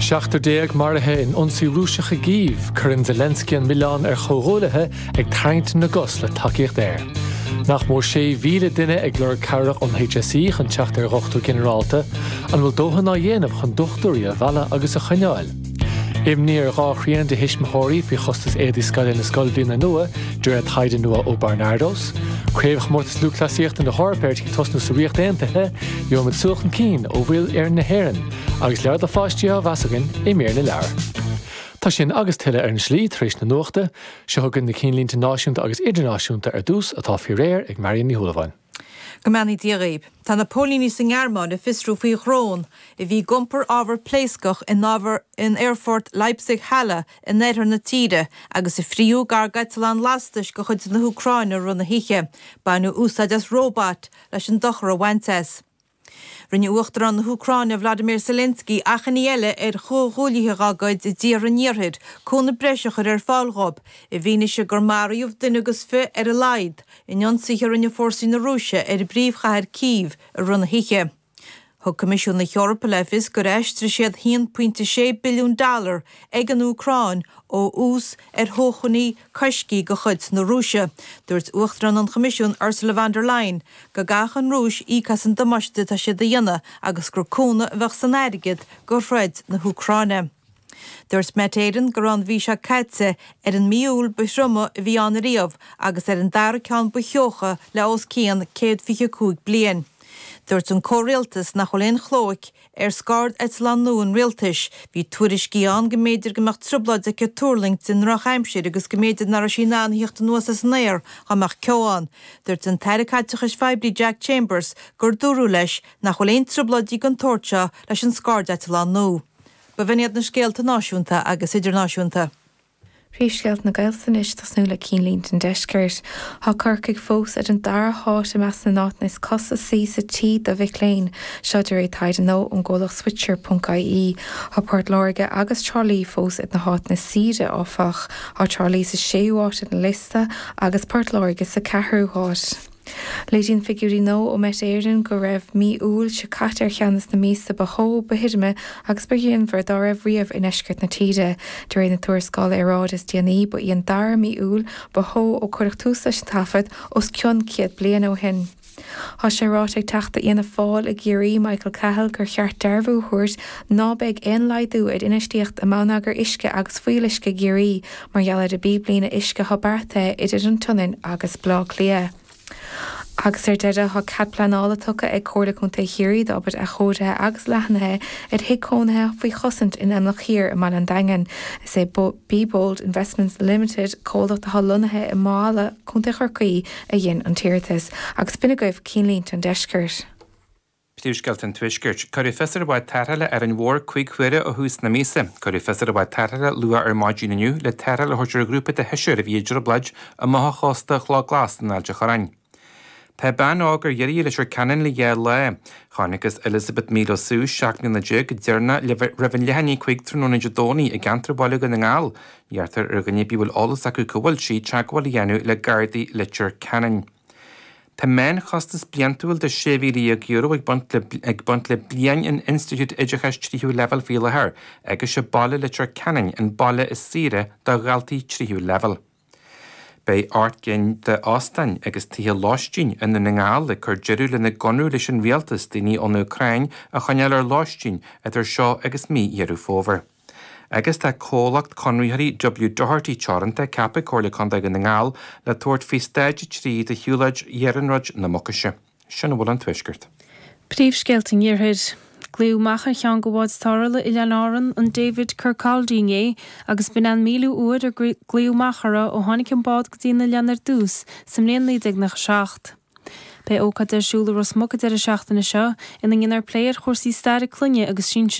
17 maraithe in ionsaí Rúiseach i gCív, cuireann Zelensky an milleán ar chomhghuaillithe ag tarraingt na gcos le tacaíocht aeir. Nach mór 6,000 duine ag lorg cabhrach ón HSE chun teacht ar dhochtúir ginearálta. An bhfuil dóthain á dhéanamh chun dochtúirí a mhealladh agus a choinneáil? Imní ar dhá thrian de thuismitheoirí faoi chostas éadaí scoile na scoilbhliana nua, de réir taighde nua ó Barnardos. Craobhchomórtas Lúthchleasaíochta na hEorpa ar tí tosnú sa Ríocht Aontaithe, gheobhaimid súil chun cinn ó bhaill fhoireann na hÉireann, agus leabhar do pháistí á mheas againn i mír na leabhar. Tá sin agus tuilleadh ar an slí tar éis na nuachta. Seo chugainn na cinnlínte náisiúnta agus idirnáisiúnta ar dtús, atá faoi réir ag Marion Ní Shúilleabháin. Go mbeannaí Dia dhaoib. Tá na póilíní sa nGearmáin ag fiosrú faoi dhrón a bhí ag iompar ábhar pléascach in ábhar in aerfort Leipzig-Halle in oirthear na tíre agus a frítheadh gar d'eiteallán lastais de chuid na hÚcráine i rith na hoíche. Baineadh úsáid as róbat leis an dochar a bhaint as. Rinne Uachtarán na hÚcráine Vladimir Zelensky achainí eile ar chomhghuaillithe dá gcuid i dtíortha an Iarthair cúnamh breise a chur ar fáil dhóibh i bhfianaise gur maraíodh duine agus fi ar a laghad in ionsaithe a rinne fórsaí na Rúise ar an bpríomhchathair Cív i rith na hoíche. Thug Coimisiún na hEorpa le fios gur aistrigh siad 1.6 billiún dollar ag an Úcráin ó ús ar shócmhainní coiscthe de chuid na Rúise. Dúirt Uachtarán an Choimisiúin Ursula von der Leyen go gcaithfeadh an Rúis íoc as an damáiste atá siad a dhéanamh agus gur cúnamh a bheadh san airgead do throid na hÚcráine. Dúirt Met Éireann go raibh an mhí seo caite ar an mí Iúil ba thrioma a bhí ann ariamh agus ar an dara ceann ba theocha le os cionn 125 bliain. Dúirt an comhrialtas nach bhfuil aon chlóic ar scairdeitleán nua an rialtais, bhí tuairiscí ann go mb'fhéidir go mbeadh trioblóid aici tuirlingt i ndrochaimsir agus go mb'fhéidir nach raibh sí in ann a theacht anuas as an aer dá mbeadh ceo ann. Dúirt an tAire Caiteachais Phoiblí Jack Chambers gur dúradh leis nach bhfuil aon trioblóidí den tsórt seo leis an scairdeitleán nua. B'in iad na scéalta náisiúnta agus idirnáisiúnta. Príomhscéalta na Gaeltachta anois, tosnú le cinnlínte an deiscirt. Tá Corcaigh fós ar an dara háit i measc na n-áiteanna is costasaí sa tír do mhic léinn. Seo de réir taighde nua ón gcomhlacht Switcher ponc ie. Tá Port Láirge agus Trá Lí fós ar na háiteanna is saoire, áfach. Tá Trá Lí sa séú háit ar an liosta agus Port Láirge sa ceathrú háit. Léiríonn figiúirí nua ó Met Éireann go raibh mí Iúil seo caite ar cheann de na míosa ba theo, ba thirime agus ba ghrianmhar dá raibh riamh i ndeisceart na tíre. De réir na tuarascála aeráide is déanaí, ba í an dara mí Iúil ba theo ó cuireadh tús leis an taifead os cionn 100 bliain ó shin. Tá sé ráite ag Teachta Fhianna Fáil i gCiarraí, Michael Cahill, gur cheart dearbhú a thabhairt ná beidh aon laghdú ar infheistíocht i mbonneagar uisce agus fuíolluisce i gCiarraí mar gheall ar an bpíblíne uisce atá beartaithe idir an tSionainn agus Baile Átha Cliath. Agus ar deireadh, tá cead pleanála tugtha ag Comhairle Contae Chiarraí d'obair athchóirithe agus leathnaithe ar thigh cónaithe faoi chosaint in Imleach Thiar i mBaile an Daingin. Is é Be Bold Investments Limited, comhlacht atá lonnaithe i Maigh Eala, Contae Chorcaí, a dhein an t-iarratas. Agus b'in agaibh cinnlínte an deiscirt. Príomhscéalta an Tuaiscirt. Cuireadh fios ar bhád tarrthála Árainn Mhór 5 huaire ó thús na míosa. Cuireadh fios ar bhád tarrthála luath ar maidin inniu le tarrtháil a thabhairt ar ghrúpa de sheisear a bhí i dtrioblóid amach ó chósta Chloch Glas in Ailt a' Chorráin. Tá bean óg ar iarraidh i Leitir Ceanainn le dhá lá. Chonacthas Elizabeth Míle Sue, 17 mbliana go deireanach roimh an leath i ndiaidh 5 tráthnóna Dé Domhnaigh i gceantar Bhaile Dhún na nGall. Iarrtar ar dhuine ar bith a bhfuil eolas acu cá bhfuil sí, teagmháil a dhéanamh le Gardaí Leitir Ceanainn. Tá meánchostas bliantúil de €16,000 ag baint le ag baint le bliain in institiúid oideachais tríú leibhéal faoi láthair agus sé baile Leitir Ceanainn an baile is saoire do dhaltaí tríú leibhéal. Beidh 8 gcinn de óstáin agus tithe lóistín i nDún na nGall ag cur deireadh lena gconradh leis an rialtas daoine ón Úcráin a choinneáil ar lóistín idir seo agus mí Dheireadh Fómhair. Agus tá comhlacht conraitheoirí W Doherty Teoranta ceaptha ag Comhairle Contae Dhún na nGall le tabhairt faoi Stáid 3 de shiúlóid Iarnróid na Mucaise. Sin a bhfuil ón Tuaisceart. Príomhscéalta an Iarthair. Glaodh amach ar cheann de bháid tarrthála Oileáin Árann, an David Kirkcaldy inné agus b'in é an míliú uair ar glaodh amach uirthi ó tháinig an bád go dtí an oileán ar dtús sa mbliain 1997. Beidh ócáid ar siúl i Ros Muc an deireadh seachtaine seo ina ndéanfar plé ar chúrsaí staire clainne agus sinsear.